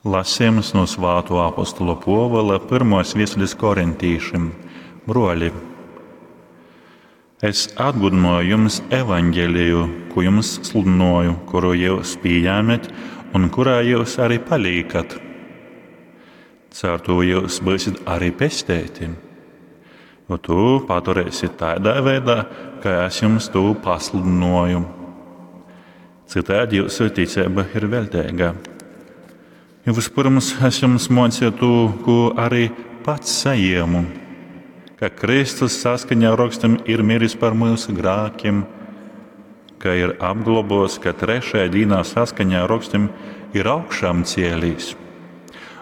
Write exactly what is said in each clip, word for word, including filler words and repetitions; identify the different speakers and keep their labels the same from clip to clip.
Speaker 1: Lasījums no Svāto apostula Pōvula pirmos viestulis korintīšim. Bruoli, es atgudinoju jums evaņģeliju, ko jums sludinoju, kuru jūs pījēmet un kurā jūs arī palīkat. Caur to jūs būsiet arī pestēti. Jo tu paturēsiet tādā veidā, kā es jums to pasludinoju. Citādi jūsu ticība ir veltīga. Jo vispirms es jums mocīju to, ko arī pats saņēmu, ka Kristus saskaņā ar rakstiem ir miris par mūsu grēkiem, ka ir apglobots, ka trešajā dienā saskaņā ar rakstiem ir augšām cēlīs,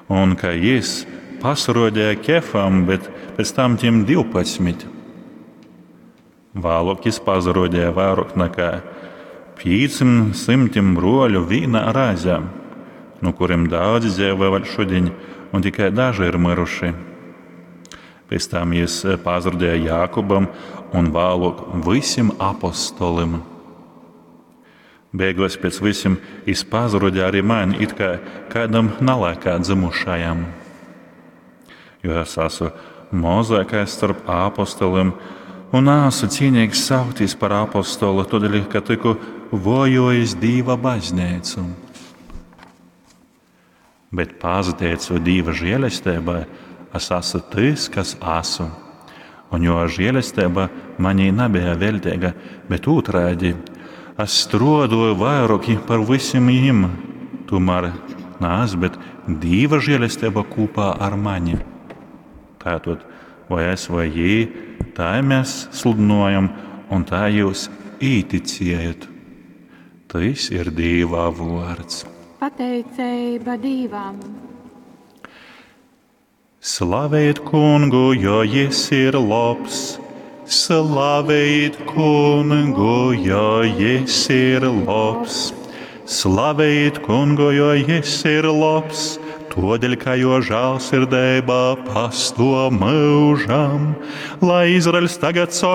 Speaker 1: un ka jis pasirodīja Kefam, bet pēc tam tiem divpadsmit. Vēlāk jis pasirodīja vairāk nekā piecim simtim bruoļu vīnā reizē, no kuriem daudzi dzīvo vēl šodien, un tikai daži ir miruši. Pēc tam jis pasirodīja Jākubam un vēlāk visiem apostolim. Beigās pēc visiem jis pasirodīja arī man, it kā kādam nalaikā dzimušajam. Jo es esmu mazākais starp apostoliem un esmu cienīgs saukties par apostolu, tādēļ, ka tiku vojojis Dieva baznīcu. Bet pateicoties Dieva žēlastībai, es esmu tas, kas esmu. Un jo žēlastība manī nebija veltīga, bet otrādi, es strādāju vairāk par visiem jiem. Tomēr ne es, bet Dieva žēlastība kopā ar mani. Tātad, vai es vai jī, tā mēs sludinojam, un tā jūs īticējat. Tas ir Dieva vārds.
Speaker 2: Pateicība Dievam!
Speaker 1: Slavējiet kungu, jo jis ir labs. Slavējiet kungu, jo jis ir labs. Slavējiet kungu, jo jis ir labs. Todēļ, ka jo žēlsirdība pastāv mūžam, lai Izraels tagad saka,